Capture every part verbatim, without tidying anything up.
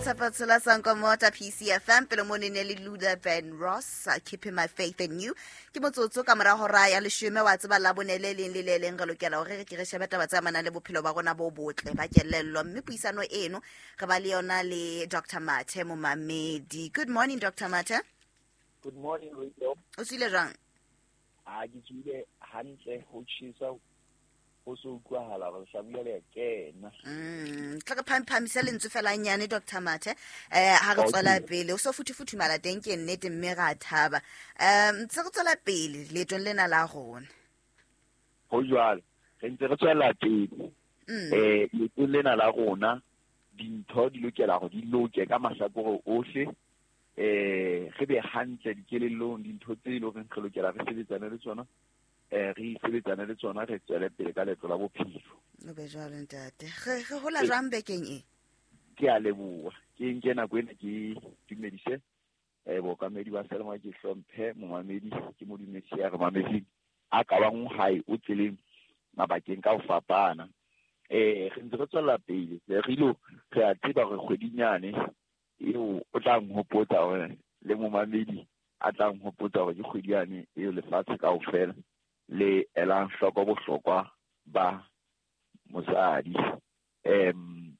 Tshepo Sankomota P C F M pele mo ne le Luther Van Ross, Keeping My Faith in You. Ke motsotso ka mora hora ya leshome wa tseba la bone le leng le le leng re lokela hore re ke re shebe taba tse amanang le bophelo ba rona bo botle ba kelello, mme puisano eno re ba le yona le Doctor Mathe Momamedi. Good morning, Doctor Mathe. Good morning, Radio. O tswile jwang? A ke tswile hantle, ho tjhesa ho so utlwahala hore hlabula le kena. Mm, tla re phamphamisa lentswe fela nyane Doctor Mathe. Eh ha re tswela pele o so futhufuthumala teng ke nnete mme ra thaba. Um ntse re tswela pele leetong lena la rona. Ho jwalo, re ntse re tswela pele. Eh leetong lena la rona dintho di lokela hore di loke ka mahlakore ohle. Eh re be hantle dikelellong, dintho tse leng hore re lokela re sebetsane le tsona. Eh re sebetsane le tsona, re tswele pele ka leeto la bophelo. O be jwalo ntate. Re re hola jwang bekeng e? Ke a leboha. Ke nke nako ena ke dumedise eh bookamedi ba Selma, ke hlomphe momamedi, ke mo dumedise ya re mamedi a ka bang hae o tseleng mabakeng ka ho fapana. Eh re ntse re tswela pele, re ilo re a tseba hore kgwedinyane eo o tla nhopotsa hore le momamedi a tla nhopotsa hore ke kgwedi yane eo lefatshe kaofela le elang hloko bohlokwa ba mosadi. Em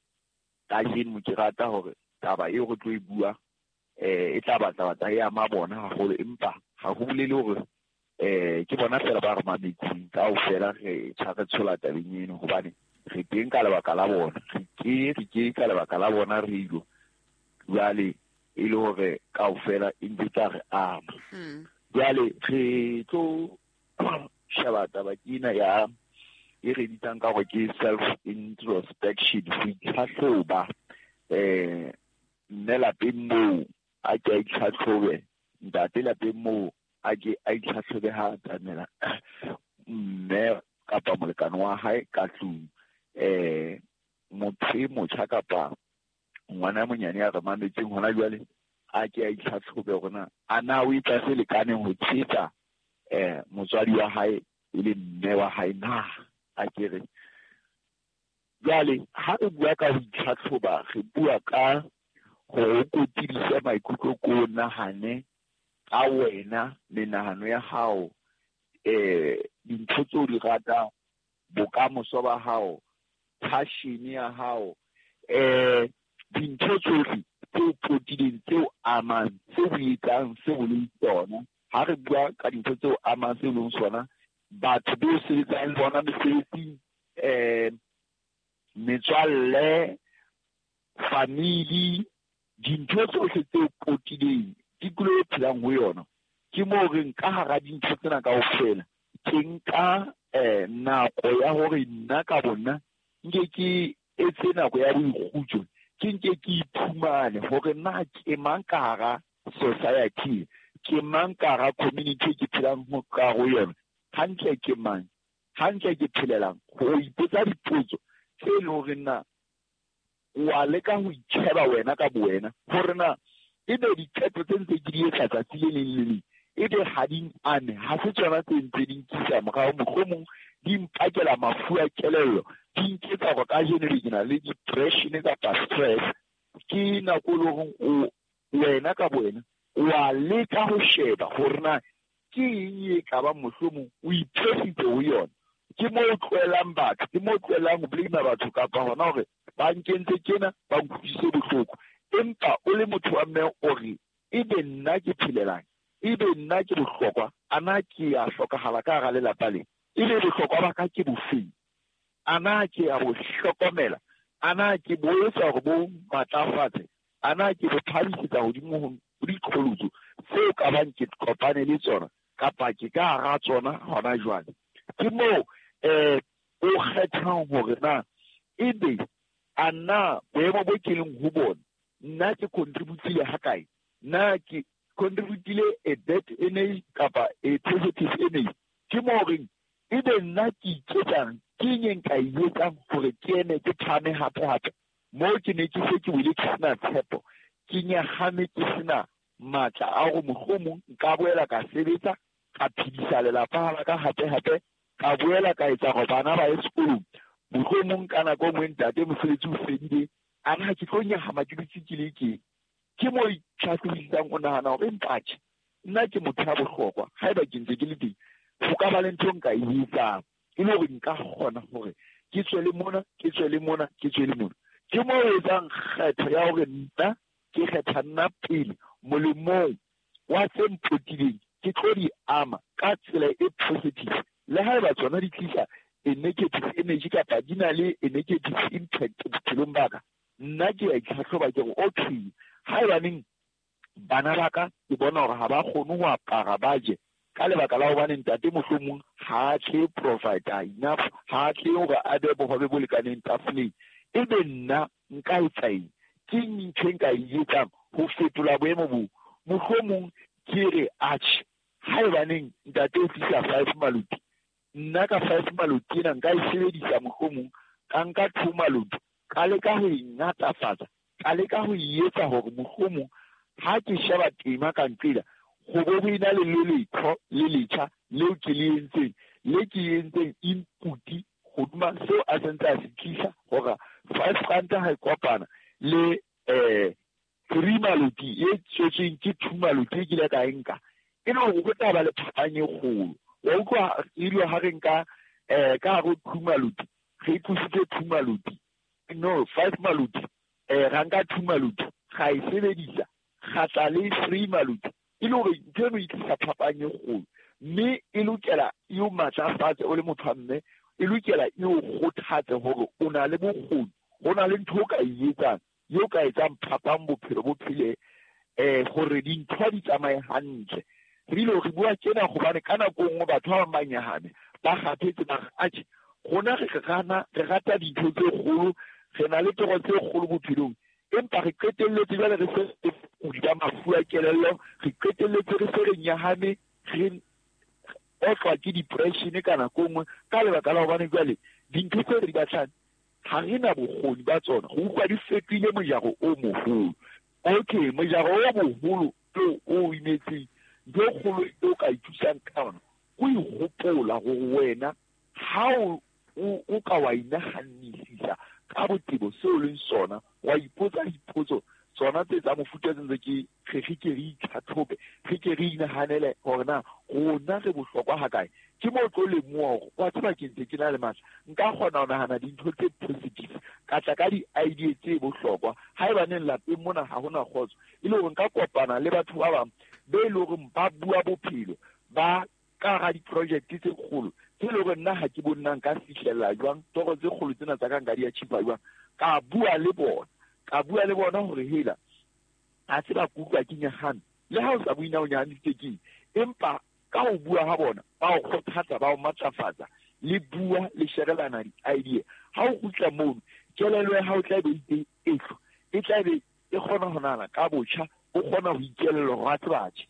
kajeno ke rata hore taba eo re tlo e bua eh e tla batla batla e ama bona haholo, empa ha ho bolele hore eh ke bona fela ba re mametseng kaofela re tjha re tshola tabeng eno, hobane re teng ka lebaka la bona, re ke re ke ka lebaka la bona re ilo jwale e le hore kaofela e ntse tla re ama. Jwale re tlo sheba taba ena ya e re bitsang ka hore ke self introspection, ho itlhahloba. Eh mme lapeng moo a ke a itlhatlhobe, ntate lapeng moo a ke a itlhatlhobe ha atamela mme kapa molekane wa hae ka tlung. Eh motho e motjha kapa ngwana monyane ya re mametseng hona jwale a ke a itlhatlhobe hore na a na o etsa se lekaneng ho tshehetsa eh motswadi wa hae e le mme wa hae na a ke re. Jwale ha re bua ka ho itlhatlhoba, re bua ka ho kotidisa maikutlo ko nahane ka wena, menahano ya hao, eh dintho tseo di ratang, bokamoso ba hao, passion ya hao, eh dintho tsohle tseo potileng, tseo amang, tseo o etsang, seo o leng tsona. Ha re bua ka dintho tseo amang seo leng sona, batho bo sebetsang le bona mesebetsing, eh metswalle, family, dintho tsohle tseo potileng, tikoloho e phelang ho yona. Ke moo re nka hara dintho tsena kaofela, ke nka eh nako ya hore nna ka bona nke ke etse nako ya boikgutso, ke nke ke iphumane hore na ke mang ka hara society, ke mang ka hara community ke phelang ho ka ho yona, hantle ke mang, hantle ke phelelang. Ho ipotsa dipotso tse leng hore na wa leka ho itjheba wena ka bowena hore na ebe diqeto tse ntse ke di etsa tsatsi le leng le leng ebe ha di ame, ha se tsona tse ntse di nkisa morao, mohlomong di mpakela mafu a kelello, di nketsa hore kajeno ke na le depression kapa stress. Ke nako e leng hore o wena ka bowena wa leka ho sheba hore na ke eng e ka bang mohlomong o iphesitse ho yona. Ke moo o tlohelang batho, ke moo o tlohelang ho blame batho kapa hona hore ba nkentse tjena, ba nkutlwisitse bohloko. Empa o le motho wa mme o re ebe nna ke phelelang, ebe nna ke bohlokwa, a na ke a hlokahala ka hara lelapa le, ebe bohlokwa ba ka ke bofeng, a na ke a bo hlokomela, a na ke bo etsa hore bo matlafatse, a na ke bo phahamisetsa hodimo ho diqholotso tseo ka bang ke kopane le tsona kapa ke ka hara tsona hona jwale. Ke moo eh o kgethang hore na ebe a na boemo bo ke leng ho bona nna ke contributile hakae, nna ke contributile a bad energy kapa a positive energy. Ke moo reng ebe nna ke iketsang, ke eng e nka e etsang hore ke eme ke phahame hape hape moo ke ne ke se ke wele ke sena tshepo, ke nyahame, ke sena matla a hore mohlomong nka boela ka sebetsa, ka phedisa lelapa la ka hape hape, ka boela ka etsa hore bana ba ye sekolong. Mohlomong ka nako e nngwe ntate mosebetsi o fedile, A na ke tlo nyahama ke dutse ke le ke. Ke mo itlhahlobisang o nahana hore empa tjhe, nna ke motho ya bohlokwa, haeba ke ntse ke le teng, ho ka ba le ntho nka e etsang, e le hore nka kgona hore ke tswele mona, ke tswele mona, ke tswele mona. Ke mo etsang kgetho ya hore nna ke kgetha nna pele molemong wa tse mpotileng, ke tlo di ama ka tsela e positive. Le haeba tsona di tlisa a negative energy kapa di na le a negative impact bophelong ba ka, nna ke a itlhatlhoba ke re okay, haebaneng bana ba ka ke bona hore ha ba kgone ho apara ba je ka lebaka la hobane ntate mohlomong ha a tle provide enough, ha a tle hore a be bohobe bo lekaneng tafoleng, ebe nna nka etsa eng? Ke ntho e nka e etsang ho fetola boemo bo? Mohlomong ke re atjhe, haebaneng ntate o tlisa five maloti, nna ka five maloti ena nka e sebedisa mohlomong ka nka two maloti, ka leka ho e ngatafatsa, ka leka ho e etsa hore mohlomong ha ke sheba tema ka nqela, ho bo ho ena le le letho le letjha leo ke le entseng, le ke entseng input hodima seo a sentse a se tlisa hore five rand ha e kopana le eh three maloti e tswetsweng ke two maloti e kile ka e nka, e le hore ho tla ba le phapang e kgolo. Wa utlwa ile ha re nka eh ka hare ho two maloti, re tlositse two maloti, no five maloti, eh ra nka two maloti, ra e sebedisa, ra tla le three maloti, e le hore ntho eno e tlisa phapang e kgolo. Mme e lokela e o matlafatse o le motho wa mme, e lokela e o kgothatse hore o na le bokgoni, ho na le ntho o ka e etsang, eo ka etsang phapang bophelo bo phele, eh hore dintho di tsamaye hantle. Re ile re bua tjena hobane ka nako e nngwe batho ba bang ba nyahame, ba kgathetse, ba re atjhe, rona re rana, re rata dintho tse kgolo, re na le toro tse kgolo bophelong, empa re qetelletse jwale re se re kudi mafu a kelello, re qetelletse re se re nyahame, re otlwa ke depression ka nako e nngwe, ka lebaka la hobane jwale dintho tse re di batlang ha re na bokgoni ba tsona, ho utlwa di fetohile mojaro o moholo. Okay, mojaro o moholo o o imetseng, ntho e kgolo e o ka ithusang ka yona, o ihopola hore wena ha o o ka wa inahannisisa ka botebo seo leng sona, wa ipotsa dipotso tsona tse tsa mofuta tse ntse ke re re ke re itlhatlhobe, re ke re inahanele hore na rona re bohlokwa hakae. Ke mo tlo lemoha hore wa tseba ke ntse ke na le matla, nka kgona ho nahana dintho tse positive, ka tla ka di-idea tse bohlokwa. Haebaneng lapeng mona ha hona kgotso, e le hore nka kopana le batho ba bang be e le hore ba bua bophelo, ba ka hara di-project tse kgolo tse e le hore nna ha ke bone na nka fihlella jwang, toro tse kgolo tsena tsa ka nka di achieve jwang. Ka bua le bona, ka bua le bona hore hela ha se ba kutlwa ke nyahame, le ha o sa bue na o nyahamisitse keng, empa ka ho bua ha bona ba o kgothatsa, ba o matlafatsa, le bua le sherelana di-idea. Ha o kgutla mono, kelello ya hao e tla be e etlo, e tla be e kgona ho nahana ka botjha, o kgona ho ikelella hore a tseba tjhe,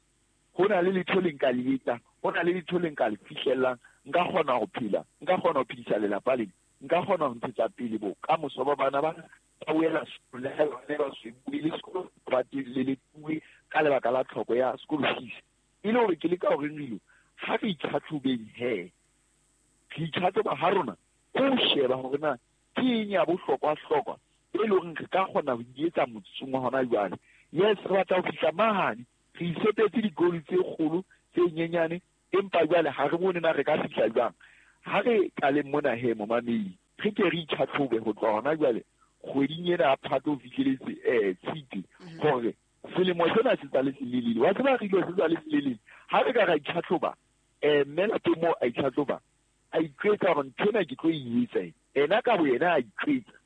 ho na le letho le nka le etsang, ho na le letho le nka le fihlellang, nka kgona ho phela, nka kgona ho phedisa lelapa lena, nka kgona ho ntshetsa pele bokamoso ba bana ba ba wela sekolo, le ha ba ne ba se bue le sekolo, ba le le bue ka lebaka la tlhoko ya sekolo fees. E le hore ke leka hore re ha re itlhatlhobeng he, re itlhatlhoba ha rona, ko sheba hore na ke eng ya bohlokwa-hlokwa e le horeng re ka kgona ho e etsa motsotsong wa hona jwale. Yes, re batla ho fihla mahane, re isetetse di-goal tse kgolo tse nyenyane, empa jwale ha re bone na re ka fihla jwang. Ha re qaleng mona he momamedi, re ke re itlhatlhobe ho tloha hona jwale kgweding ena ya Phato ho fihleletse eh Tshitwe, hore selemo sena se tswa le selelele. Wa tseba re ile se tswa le selelele. Ha re ka ra itlhatlhoba, eh mme lapeng moo a itlhatlhoba, a itjwetsa hore ntho ena ke tlo e etsa. Ena ka boyena a itjwetsa,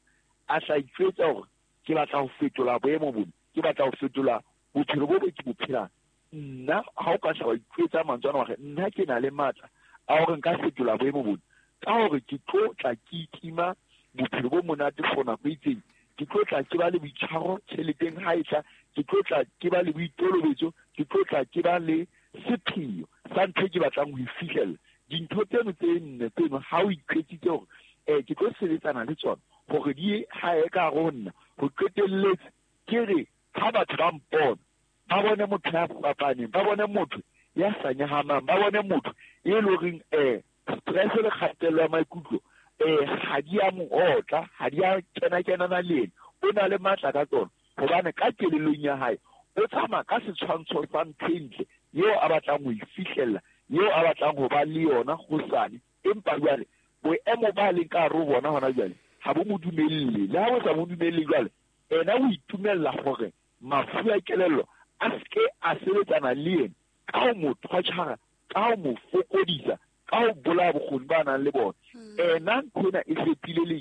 a sa itjwetsa hore ke batla ho fetola boemo bona, ke batla ho fetola bophelo bo bo ke bo phelang. Nna ha o ka hla wa itjwetsa mantswe ana hore nna ke na le matla a hore nka fetola boemo bona, ka hore ke tlo tla ke itima bophelo bo monate for nako e itseng, ke tlo tla ke ba le boitshwaro tjheleteng ha e tla, ke tlo tla ke ba le boitolobetso, ke tlo tla ke ba le sepheo sa ntho e ke batlang ho e fihlella. Dintho tseno tse nne tseno ha o iqetsitse hore eh ke tlo sebetsana le tsona hore di hae ka hare ho nna, ho qetelletse ke re ha batho ba mpona, ba bone motho ya fapaneng, ba bone motho ya sa nyahamang, ba bone motho e leng horeng eh stress le kgatello ya maikutlo eh ha di a mo otla, ha di a kena-kenana le ena, O na le matla ka tsona hobane ka kelellong ya hae o tsamaya ka setshwantsho sa ntho e ntle eo a batlang ho e fihlella, eo a batlang ho ba le yona hosane. Empa jwale boemo ba leng ka hare ho bona hona jwale ha bo mo dumelle. Le ha bo sa mo dumelle jwale, ena o itumella hore mafu a kelello a seke a sebetsana le yena ka ho mo torture, ka ho mo fokodisa, ka ho bolaya bokgoni ba nang le bona. Ena ntho ena e fetile le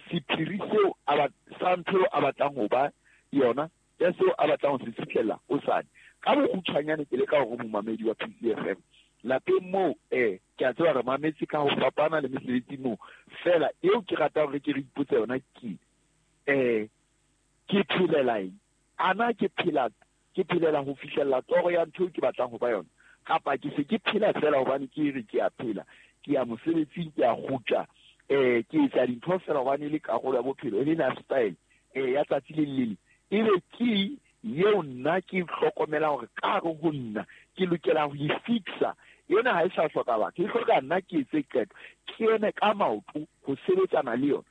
sephiri seo a sa ntho eo a batlang ho ba yona, ya seo a batlang ho se fihlella hosane. Ka bokgutshwanyane ke leka hore momamedi wa P C F M lapeng moo, eh ke a tseba re mametse ka ho fapana le mesebetsi moo, fela eo ke ratang hore ke re ipotse yona ke eh ke phelela eng? Ana ke phela ke phelela ho fihlella toro ya ntho eo ke batlang ho ba yona, kapa ke se ke phela fela hobane ke re ke a phela, ke ya mosebetsing, ke a kgutla, eh ke etsa dintho fela hobane e le karolo ya bophelo, e le lifestyle eh ya tsatsi le le leng. Ebe ke eo nna ke hlokomela hore ka hare ho nna ke lokela ho e fixa. Yona ha e sa hloka batho, e hloka nna ke etse qeto, ke eme ka maoto ho sebetsana le yona.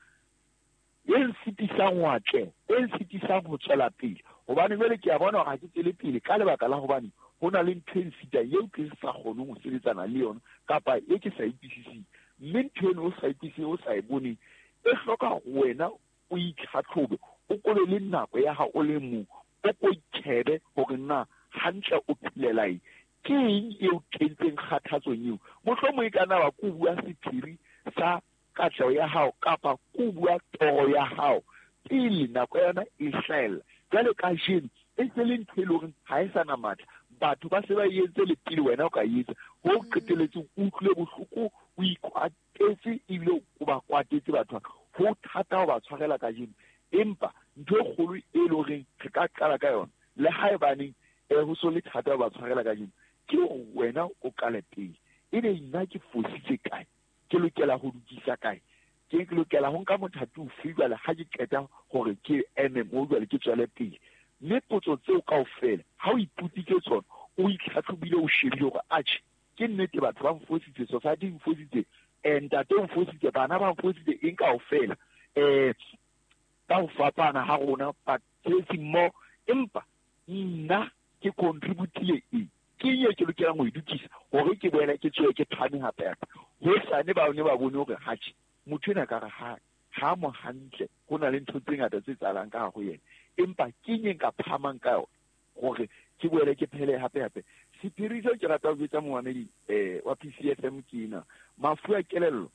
E nsitisang ho atleha, e nsitisang ho tswela pele, hobane jwale ke a bona hore ha ke tswele pele ka lebaka la hobane ho na le ntho e nsitang eo ke sa kgoneng ho sebetsana le yona, kapa e ke sa e utlwisiseng. Mme ntho eno o sa e utlwisiseng, o sa e boneng, e hloka wena o itlhatlhobe, o kobe le nako ya hao o le mong, o ko itjhebe hore na hantle o phelela eng, ke eng eo kentseng kgathatsong eo. Mohlomong e ka nna wa ko bua sephiri sa katleho ya hao kapa ko bua toro ya hao pele nako ya yona e hlahella. Jwale kajeno e se le ntho e leng hore ha e sa na matla, batho ba se ba e entse le pele wena o ka e etsa, ho qetelletse o utlwile bohloko, o ikwatetse ebile o ba kwatetse batho ba. Ho thata ho ba tshwarela kajeno, empa ntho e kgolo e leng hore re ka qala ka yona, le haebaneng eh ho so le thata ho ba tshwarela kajeno, ke hore wena o qale pele. Ebe nna ke fositse kae? Ke lokela ho lokisa kae? Ke lokela ho nka mothati ofe jwale ha ke qeta hore ke eme moo jwale ke tswele pele? Mme potso tseo kaofela ha o ipotsitse tsona, o itlhatlhobile, o shebile hore atjhe ke nnete batho ba nfositse, society e nfositse, eh ntate o nfositse, bana ba nfositse, eng kaofela, eh ka ho fapana ha rona basebetsi mmoho, empa nna ke contributile eng? Ke eng e ke lokelang ho e lokisa hore ke boele ke tswe ke phahame hape hape? Hosane ba ne ba bone hore atjhe motho enwa ka re ha ha mo hantle, ho na le ntho tse ngata tse etsahalang ka hare ho yena, empa ke eng e nka phahamang ka yona hore ke boele ke phele hape hape? Sephiri seo ke ratang ho jwetsa momamedi eh wa P C F M ke ena. Mafu a kelello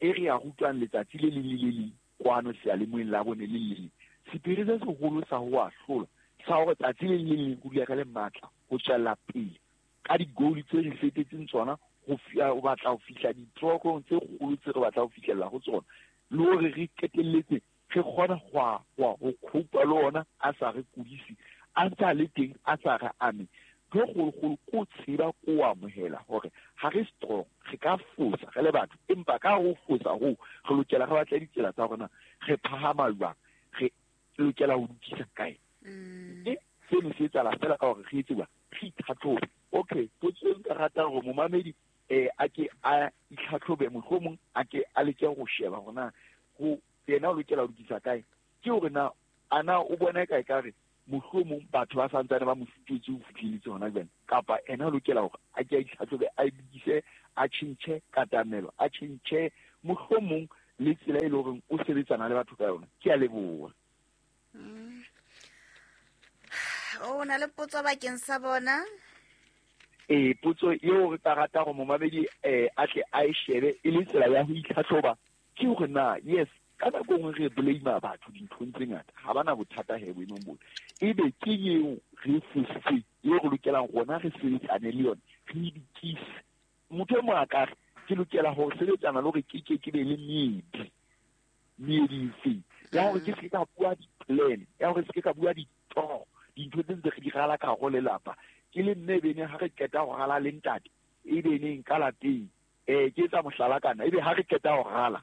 e re a rutwang letsatsi le leng le le leng kwano seyalemoyeng la bone le le leng, sephiri se seholo sa ho a hlola, sa hore tsatsi le leng le leng ho dula re le matla ho tswella pele ka di-goal tse re fetetseng tsona, ho ho batla ho fihla ditlhokong tse kgolo tse re batlang ho fihlella ho tsona, le hore re qetelletse re kgona ho ho cope le ona a sa re kudise, a ntse a le teng, a sa re ame. Ntho e kgolokgolo ke ho tseba, ke ho amohela hore ha re strong, re ka fosa re le batho, empa ka ho fosa hoo re lokela re batle ditsela tsa rona re phahama jwang, re lokela ho lokisa kae. Mme seno se etsahala fela ka hore re etse jwang, re itlhatlhobe. Okay, potso e nka ratang hore momamedi eh a ke a itlhatlhobe, mohlomong a ke a leke ho sheba hore na ho yena o lokela ho lokisa kae, ke hore na ana o bona kae ka re mohlomong batho ba santsane ba mo sitetse ho fihleletse hona jwale, kapa ena o lokela hore a ke a itlhatlhobe, a lokise, a tjhentjhe katamelo, a tjhentjhe mohlomong le tsela e leng hore o sebetsana le batho ka yona. Ke a leboha. O na le potso bakeng sa bona? Eh potso eo re ka rata hore momamedi eh a tle a e shebe e le tsela ya ho itlhatlhoba ke hore na yes ka nako nngwe re blame batho dinthong tse ngata, ha ba na bothata he boemong bona, ebe ke eo re fositseng eo re lokelang rona re sebetsane le yona, re e lokise. Motho e mong a ka re ke lokela ho sebetsana le hore ke ke ke be le meedi, meedi efe ya hore ke se ke ka bua di-plan, ya hore se ke ka bua ditoro, dintho tse ntse re di rala ka hare ho lelapa. Ke le mme ebe neng ha re qeta ho rala le ntate, ebe neng ka lapeng, eh ke etsa mohlala kana, ebe ha re qeta ho rala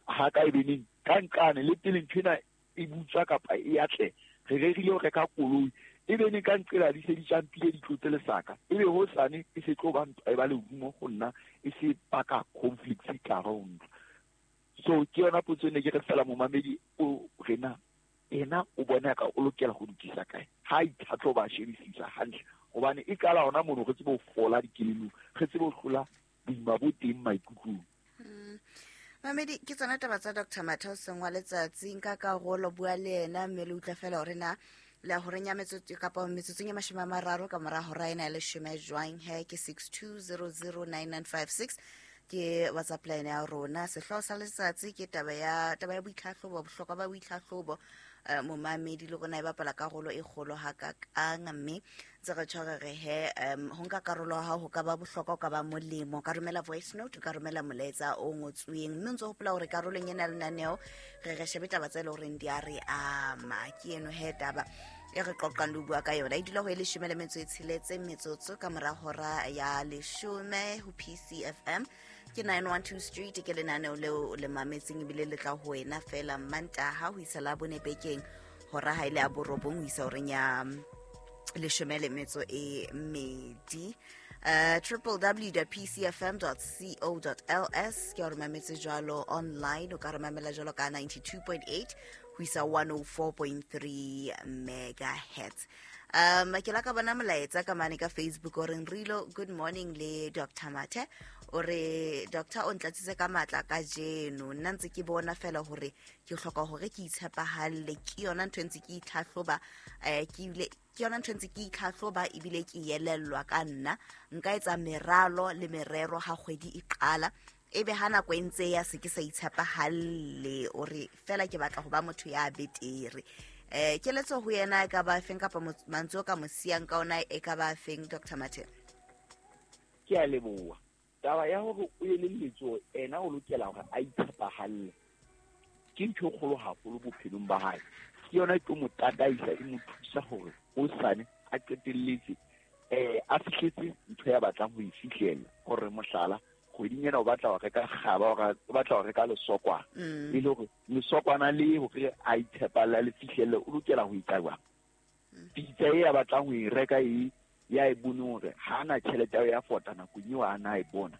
ha ka ebe neng ka nqane le pele ntho ena e butswa kapa e atle, re rerile ho reka koloi, ebe neng ka nqela di se di tjampile di tlotse lesaka, ebe hosane e se tlo ba ntwa e ba lerumo ho nna, e se baka conflicts ka hare ho ntlo. So ke yona potso e ne ke re fela momamedi o rena Ena o bona ka o lokela go lokisa kae ha itlhatlhoba a shebisisa hantle hobane e qala hona mono re tsebe ho fola dikelelong, re tsebe ho hlola boima bo teng maikutlong. Mamedi, ke tsona taba tsa Doctor Mathe hoseng wa letsatsi. Nka karolo, bua le yena mme le utlwa fela hore na le horeng ya metsotso kapa metsotsong ya mashome a mararo ka mora hora ena ya leshome jwang. He ke six two zero zero nine nine five six ke WhatsApp line ya rona. Sehlooho sa letsatsi ke taba ya taba ya boitlhahlobo, bohlokwa ba boitlhahlobo. Eh, momamedi le rona e bapala karolo e kgolo hakakang, mme ntse re tshware re he um ho nka karolo ha ho ka ba bohlokwa, ho ka ba molemo. O ka romela voice note, o ka romela molaetsa o ngotsweng, mme o ntso hopola hore karolong ena ya lenaneo re re shebe taba tse leng horeng di a re ama. Ke eno he taba e re qoqang le ho bua ka yona. E dula ho e leshome le metso e tsheletse metsotso ka mora hora ya leshome ho P C F M. Ke nine one two Street, ke lenaneo leo le mametseng ebile le tla ho wena fela Mantaha ho isa Labone bekeng hora ha ile ya borobong ho isa horeng ya leshome le metso e mmedi. Uh, triple w dot p c f m dot co dot l s ke hore mametse jwalo online, o ka re mamela jwalo ka ninety-two point eight ho isa one oh four point three megahertz. Um, ke la ka bona molaetsa ka mane ka Facebook o reng Rilo, good morning le Doctor Mathe. O re Doctor o ntlatsitse ka matla kajeno, nna ntse ke bona fela hore ke hloka hore ke itshepahalle, ke yona ntho e ntse ke itlhahloba, eh, ke ile ke yona ntho e ntse ke itlhahloba ebile ke elellwa ka nna. Nka etsa meralo le merero ha kgwedi e qala, ebe ha nako e ntse ya se ke sa itshepahalle. O re fela ke batla ho ba motho ya betere. Eh, keletso ho yena e ka ba feng kapa mantswe o ka mo siyang ka ona e ka ba feng, Doctor Mathe? Ke a leboha. Taba ya hore o elelletswe ena o lokela hore a itshepahalle ke ntho e kgolo haholo bophelong ba hae. Ke yona e tlo mo tataisa, e mo thusa hore hosane a qetelletse eh a fihletse ntho ya batlang ho e fihlela. Hore mohlala kgweding ena o batla ho reka kgaba, o batla ho reka lesokwana, e le hore lesokwana le hore a itshepalle le fihlelle, o lokela ho etsa jwang? Pitsa e a batlang ho e reka e ya e bone hore ha ana tjhelete ya fota nakong eo a na e bona.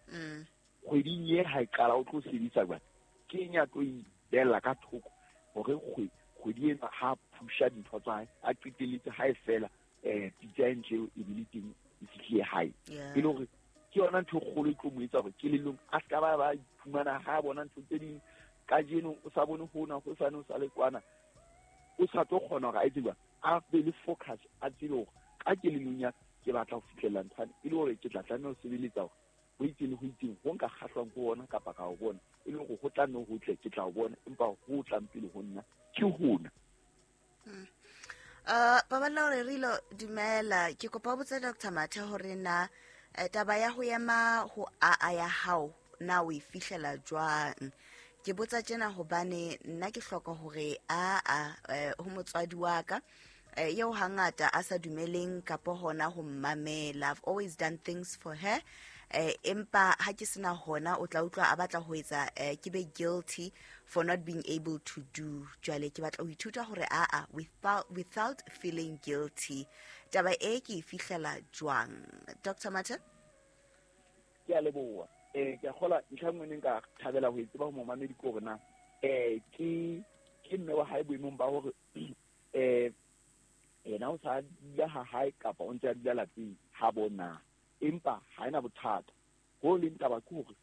Kgweding e ha e qala o tlo sebedisa jwang? Ke eng ya tlo e bella ka thoko hore kgwedi ena ha phusha dintho tsa hae a qetelletse ha e fela eh pitsa e ntle e bile teng e fihlile hae. E le hore ke yona ntho e kgolo e tlo mo etsa hore kelellong a ska ba ba iphumana ha bona ntho tse ding kajeno o sa bone hona, hosane o sa le kwana, o sa tlo kgona hore a etse jwang, a be le focus, a tsebe hore ka kelellong ya ke batla ho fihlella nthwane, e le hore ke tla tlameha ho sebeletsa hore ho itseng le ho itseng ho nka kgahlwang ke ona kapa ka ho bona, e le hore ho tla nne ho tle ke tla ho bona, empa ho tlang pele ho nna ke hona. Uh, Paballo hore Rilo, dumela. Ke kopa ho botsa Doctor Mathe hore na taba ya ho ema ho a ya hao na o e fihlela jwang? Ke botsa tjena hobane nna ke hloka hore a a ho motswadi wa ka eo hangata a sa dumeleng kapa hona ho mmamela. I've always done things for her, eh empa ha ke sena hona o tla utlwa a batla ho etsa ke be guilty for not being able to do. Jwale ke batla ho ithuta hore a a without without feeling guilty. Taba e ke e fihlela jwang, Doctor Mathe? Ke a leboha. Eh ke a kgola ntlha nngwe ne nka thabela ho e tseba ho momamedi ke hore na eh ke ke mme wa hae boemong ba hore eh yena o sa dula ha hae kapa o ntse a dula lapeng ha bona, empa ha ena bothata. Ho leng taba ke hore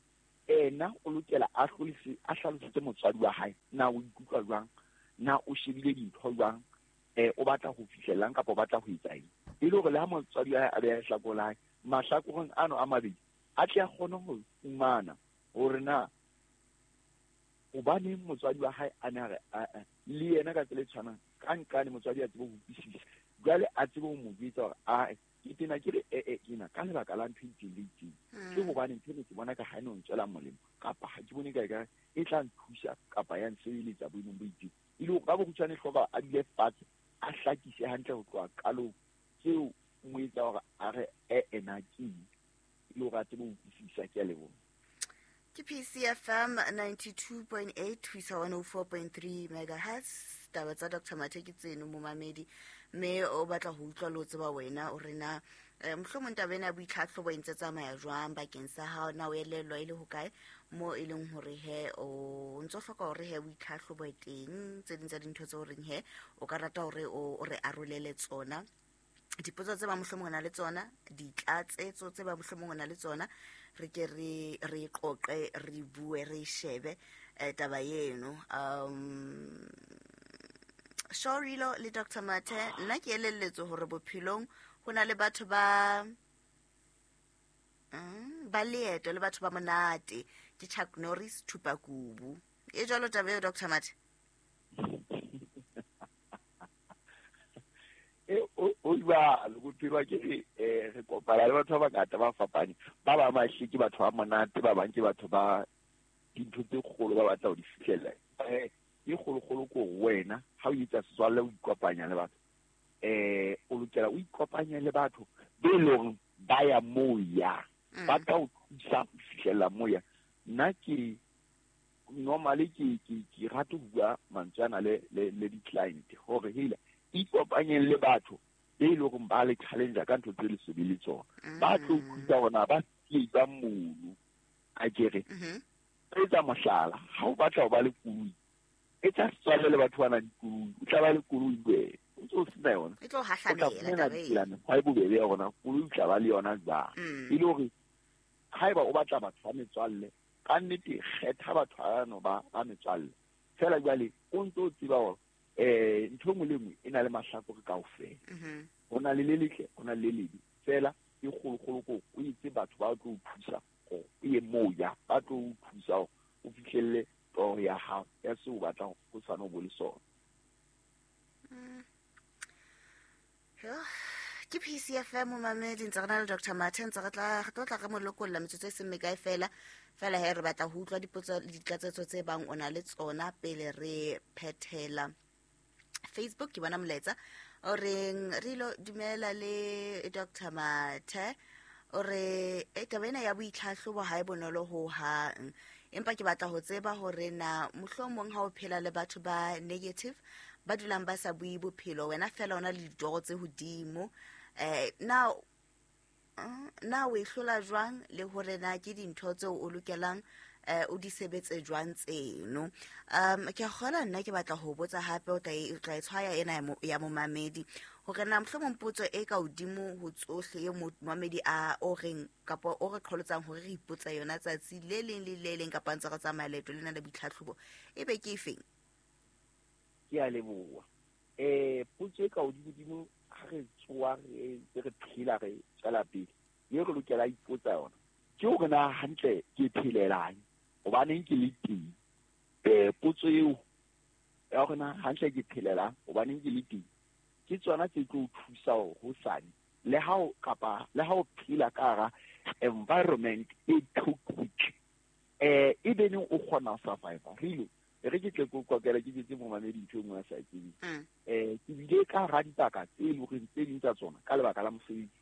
ena o lokela a hlolise a hlalosetse motswadi wa hae na o ikutlwa jwang, na o shebile dintho jwang, eh o batla ho fihlelang kapa o batla ho etsa eng, e le hore le ha motswadi wa hae a beha lehlakore la hae mahlakoreng ano a mabedi a tle a kgone ho fumana hore na hobaneng motswadi wa hae a ne a re le yena ka tsela e tshwanang ka nqane motswadi a tsebe ho utlwisisa, jwale a tsebe ho mo jwetsa hore ae ke tena ke re ee ke na ka lebaka la ntho e itseng le itseng, ke hobane ntho ena ke bona ka ha e no ntswela molemo kapa ha ke bone ka ekare e tla nthusa kapa ya nsebeletsa boemong bo itseng. E le hore ka bokgutshwane hloka a dule fatshe a hlakise hantle ho tloha qalong tseo mo etsa hore a re ee na ke eng, e le hore a tsebe ho utlwisisa. Ke a leboha. Ke P C F M ninety-two point eight ho isa one oh four point three megahertz. Taba tsa Doctor Mathe ke tseno momamedi, mme o batla ho utlwa le ho tseba wena o re na Eh, mohlomong taba ena ya boitlhatlhobo e ntse tsamaya jwang bakeng sa hao, na o elellwa e le hokae mo e leng hore he o ntso hloka hore he boitlhatlhobo e teng, tse ding tsa dintho tse o reng he o ka rata hore o o re arolele tsona, dipotso tse ba mohlomong o na le tsona, ditlatsetso tse ba mohlomong o na le tsona, re ke re re qoqe, re bue, re shebe eh, taba eno. Um Shorilo le Doctor Mathe, nna ke elelletswe hore bophelong ho na le batho ba mm, ba leeto le batho ba monate, ke Chuck Norris Thupakubu. E jwalo taba eo, Doctor Mathe? E o o jwalo bophelo ke re eh re kopana le batho ba bangata ba fapaneng, ba ba mahle ke batho ba monate, ba bang ke batho ba dintho tse kgolo ba batla ho di fihlella. Eh e kgolokgolo ko wena ha o etsa setswalle o ikopanya le batho, eh o lokela o ikopanye le batho be leng ba ya moya, ba tla o thusa ho fihlella moya. Nna ke normally ke ke ke rata ho bua mantswe ana le le le di-client hore hela ikopanyeng le batho be leng hore ba le challenge ka ntho tse le se le tsona, ba tlo thusa hona ba ba mono. A kere etsa mohlala, ha o batla ho ba le koloi, etsa setswalle le batho ba nang le koloi, o tla ba le koloi wena o ntse o sena yona, E tlo hahlamela taba eo. mekgwa e bobebe ya hore koloi o tla ba le yona jwang. Mm. E le hore haeba o batla batho ba metswalle, ka nnete kgetha batho bano ba ba metswalle fela. Jwale o ntse o tseba hore eh ntho e nngwe le nngwe e na le mahlakore kaofela, Mhm. ho na le le letle, ho na le le lebe, fela e kgolokgolo ko o itse batho ba tlo o thusa hore o ye moya, ba tlo o thusa hore o fihlelle toro ya hao ya seo o batlang ho sane o bo le sona. Yo, ke P C F M momamedi, ntse re na le Doctor Mathe, ntse re tla re tlo tla re mo lokolla metsotso e seng mekae fela. Fela he re batla ho utlwa dipotso le ditlatsetso tse bang o na le tsona pele re phethela. Facebook ke bona molaetsa o reng Rilo dumela le Doctor Mathe, o re e taba ena ya boitlhahlobo ha e bonolo ho hang, empa ke batla ho tseba hore na mohlomong ha o phela le batho ba negative ba dulang ba sa bue bophelo, wena fela o na le ditoro tse hodimo, eh na na o e hlola jwang, le hore na ke dintho tseo o lokelang eh o di sebetse jwang tseno. Um ke kgola nna ke batla ho botsa hape, o tla e tla e tshwaya ena ya mo, ya momamedi hore na mohlomong potso e ka hodimo ho tsohle e momamedi a o reng kapa o re qholotsang hore re ipotsa yona tsatsi le leng le le leng kapa ntse re tsamaya leeto lena la boitlhatlhobo, e be ke efeng? Ke a leboha. Eh potso e ka hodimo ha re tsoa re re phela re tswela pele, e re lokela ipotsa yona ke hore na hantle ke phelelang, hobaneng ke le teng. Eh potso eo ya hore na hantle ke phelelang, hobaneng ke le teng, ke tsona tse tlo o thusa hore hosane le ha o kapa le ha o phela ka hara environment e toxic, eh e be neng o kgona ho survive. Re re ke tle ko kokela ke jetse momamedi ntho e nngwe a sa e tsebeng. Mm. Eh ke bile ka hara dibaka tse leng hore tse ding tsa tsona ka lebaka la mosebetsi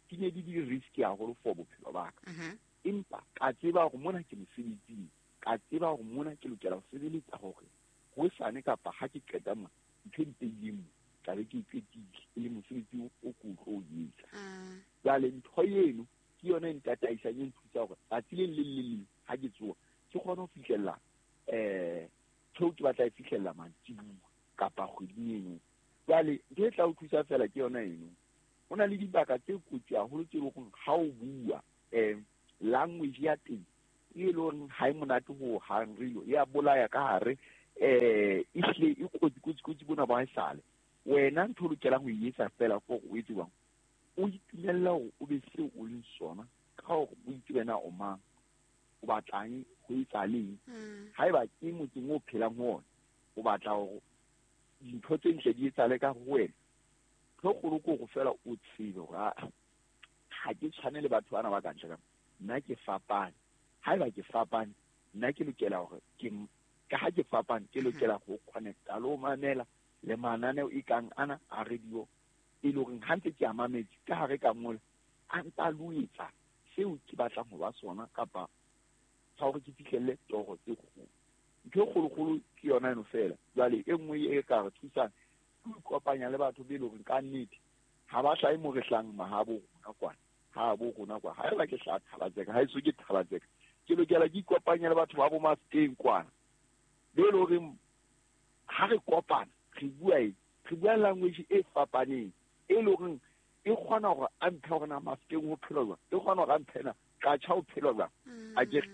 di ne di di risky haholo for bophelo ba ka. Mhm. Empa ka tseba hore mona ke mosebetsing, ka tseba hore mona ke lokela ho sebeletsa hore hosane kapa ha ke qeta mona ntho e mpehileng mo tla be ke e qetile, e le mosebetsi o ke o tlo o etsa. Mm. Jwale ntho eno ke yona e ntataisang, e nthusa hore tsatsi le leng le leng ha ke tsoha ke kgone ho fihlella eh ntho ke batla e fihlella mantsibuya kapa kgweding eno. Jwale ntho e tla o thusa fela ke yona eno. Ho na le dibaka tse kotsi haholo tse leng hore ha o bua eh language ya teng e leng hore ha e monate ho hang, re ya bolaya ka hare, eh ehlile e kotsi kotsi kotsi bona ba haesale. Wena ntho o lokelang ho e etsa fela ke hore o etse jwang, o itumella hore o be seo o leng sona ka hore o itse wena o mang, o batlang ho etsa leng. Mm. Haeba ke motseng o phelang ho ona, o batla hore dintho tse ntle di etsahale ka ho wena, ntho e kgolo ke hore fela o tsebe hore ha ha ke tshwane le batho bana ba ka ntle ka mo, nna ke fapane. Haeba ke fapane, nna ke lokela hore ke ka ha ke fapane, ke lokela ho connecta le ho mamela le mananeo e kang ana a radio, e leng hore ha ntse ke a mametse ka hare ka mola, a ntsa loetsa seo ke batlang ho ba sona kapa sa hore ke fihlelle toro tse kgolo. Ntho e kgolokgolo ke yona eno fela. Jwale e nngwe e ka re thusang ke ho ikopanya le batho be leng hore ka nnete ha ba hlahe mo re hlahang mahabo rona. rona kwana, ha bo rona kwa, haeba ke hlaha Thalatseka, ha eso ke Thalatseka, ke lokela ke ikopanye le batho ba bo Mafeteng kwana, be e le horeng ha re kopana re bua eng, re bua language e fapaneng, e le horeng e kgona hore a mphe hore na Mafeteng ho phelwa jwang, e kgona hore a mphe na Qacha ho phelwa jwang. Akere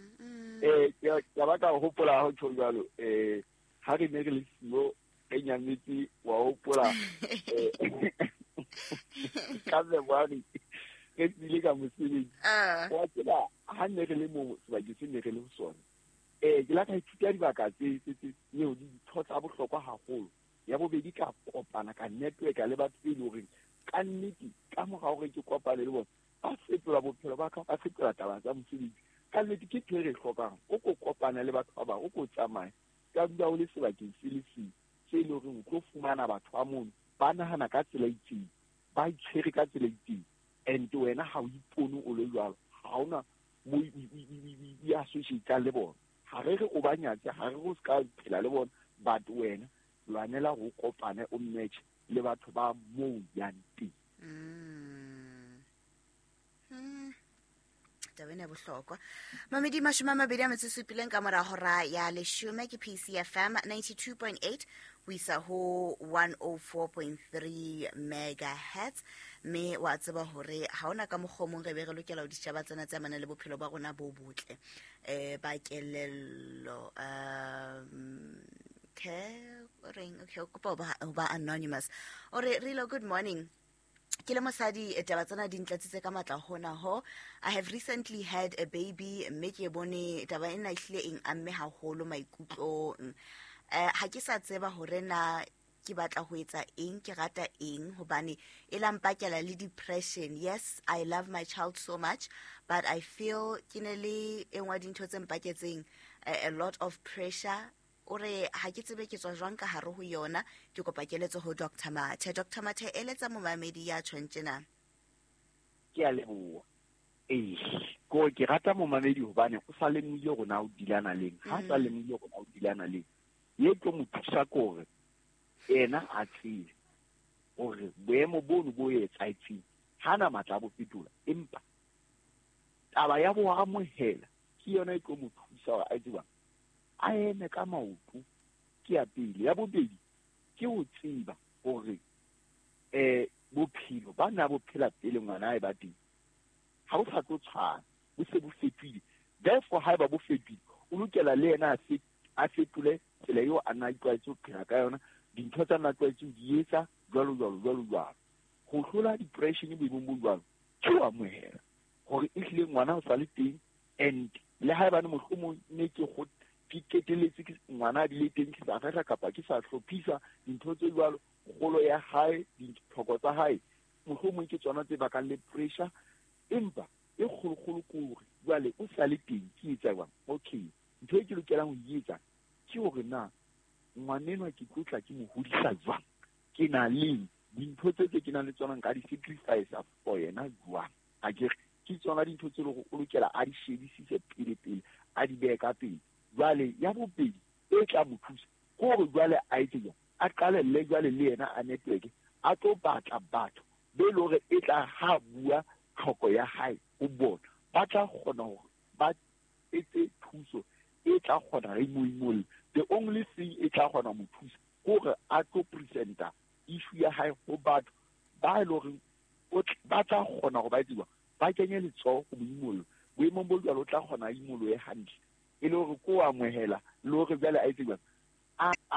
eh ke ba ka hopola ha ho tjho jwalo, eh ha re ne re le siyo re nyametse, wa hopola eh ka February re tsile ka mosebetsi, wa tseba ha ne re le mo sebakeng se ne re le ho sona, eh ke la ka ithuta dibaka tse tse tse eo di ditho tsa bohlokwa haholo. Ya bobedi, ka kopana ka network le batho be leng horeng ka nnete ka mora hore ke kopane le bona, ba fetola bophelo ba ka, ba fetola taba tsa mosebetsi. Ka nnete ke ntho e re e hlokang, o ko kopana le batho ba bang, o ko tsamaye, ka dula o le sebakeng se le seng se e leng horeng o tlo fumana batho ba mono ba nahana ka tsela e itseng, ba itshwere ka tsela e itseng, and wena ha o ipone o le jwalo, ha hona mo i associate le bona. Ha re re o ba nyatse, ha re re o ska phela le bona, but wena lwanela ho kopane o match le batho ba moo yang teng. Mm. Mm. Taba ena e bohlokwa. Mamedi mashome a mabedi a metso e supileng ka mora hora ya leshome, ke P C F M ninety-two point eight ho isa ho one oh four point three megahertz. Mme wa tseba hore ha hona ka mokgwa o mong re be re lokela ho ditjhaba tsena tse amanang le bophelo ba rona bo botle, eh ba kelello. Um okay, o reng? Okay, o kopa ho ba, ho ba anonymous. O re, Rilo, good morning. Ke le mosadi, taba tsena di ntlatsitse ka matla hona ho. I have recently had a baby, mme ke bone taba ena ehlile eng amme haholo maikutlong. Eh, ha ke sa tseba hore na ke batla ho etsa eng, ke rata eng, hobane e la mpakela le depression. Yes, I love my child so much, but I feel ke ne le e nngwe ya dintho tse mpaketseng, eh, a lot of pressure. O re ha ke tsebe ke tswa jwang ka hare ho yona, ke kopa keletso ho Doctor Mathe. Doctor Mathe, eletsa momamedi ya tjhong tjena. Ke a leboha. Ee, ko ke rata momamedi hobane o sa lemohile hore na o dilana leng. Ha sa lemohile hore na o dilana leng, ye tlo mo thusa ke hore yena a tsebe hore boemo bono bo etsahetseng ha na matla a bo fetola, empa taba ya bo amohela ke yona e tlo mo thusa hore a tseba a eme ka maoto. Ke ya pele. Ya bobedi ke ho tseba hore eh bophelo ba na bo phela pele ngwana a e ba teng ha bo sa tlo tshwana, bo se bo fetohile. Therefore haeba bo fetohile, o lokela le yena a fe-, a fetole tsela eo a na itlwaetse ho phela ka yona, dintho tsa na tlwaetse ho di etsa jwalo jwalo jwalo jwalo. Ho hlola depression boemong bo jwalo ke ho amohela hore ehlile ngwana o sa le teng, and le haebane mohlomong ne ke go ke keteletse ke ngwana a bile teng ke sa rera kapa ke sa hlophisa dintho tse jwalo, kgolo ya hae, ditlhoko tsa hae mohlomong ke tsona tse bakang le pressure, empa e kgolokgolo ke hore jwale o sa le teng, ke etsa jwang? Okay, ntho e ke lokelang ho e etsa ke hore na ngwanenwa ke tlo tla ke mo hodisa jwang, ke na le dintho tse tse ke nang le tsona nka di sacrifice for yena jwang? Akere ke tsona dintho tse leng hore o lokela a di shebisise pele pele, a di behe ka pele. Jwale ya bobedi e tla mo thusa ke hore jwale a etse jwang, a qalelle jwale le yena a network, a tlo batla batho be le hore e tla ha bua tlhoko ya hae ho bona, ba tla kgona hore ba etse thuso e tla kgona re mo imolle. The only thing e tla kgona mo thusa ke hore a tlo presenta issue ya hae ho batho ba e leng hore o tl-, ba tla kgona hore ba etse jwang, ba kenye letsoho ho mo imolla. Boemong bo jwalo o tla kgona a imolohe hantle, e le hore ko amohela le hore jwale a etse jwang, a, a